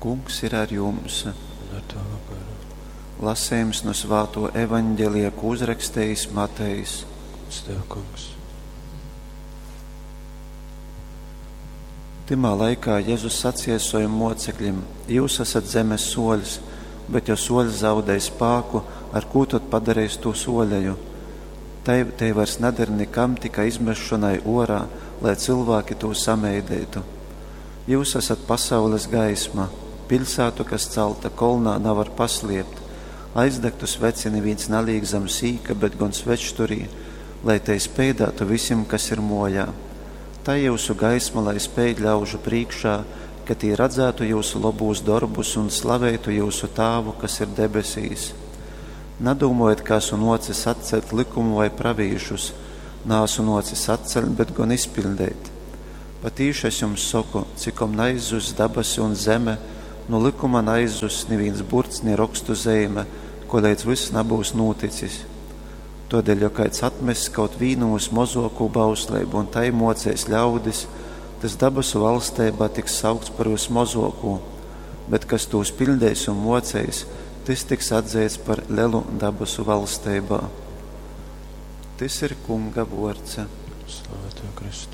Kungs ir ar jums. Un ar tavu garu. Lasījums no Svāto evaņģelija, ko uzrakstījis Matejs. Gods tev, Kungs. Tymā laikā Jēzus sacīja saviem mocekļiem: Jūs esat zemes soļs, bet ja soļs zaudē spāku, ar ko tad padarīs to soļeju? Tai, tai vairs neder nekam, tikai izmešanai orā, lai cilvēki to sameidētu. Jūs esat pasaules gaisma. Pilsētu, kas celta kolnā, nevar pasliept. Aizdegtu sveci neviens neliek zem sīka, bet gan svečturī, lai te speidātu visiem, kas ir mojā. Tā jūsu gaisma, lai speid ļaužu priekšā, ka tī redzētu jūsu labūs darbus un slavētu jūsu tāvu, kas ir debesīs. Nadūmojiet, ka esmu nocis atcelt likumu vai pravīšus, nāsu nocis atcelt, bet gan izpildīt. Patīši es jums saku, cikom neizzuss dabasi un zeme, no likuma neizzuss neviens burts, ne rakstu zīme, kolēdz viss nebūs noticis. Todēļ, ja kāds atmess kaut vīnu uz mozoko bauslību un tai mocēs ļaudis, tas dabasu valstībā tiks saukts par vismozoko, bet kas tos pildēs un mocēs, tas tiks atzīts par lielu dabasu valstībā. Tas ir Kunga vorce. Slava tev, Kristu.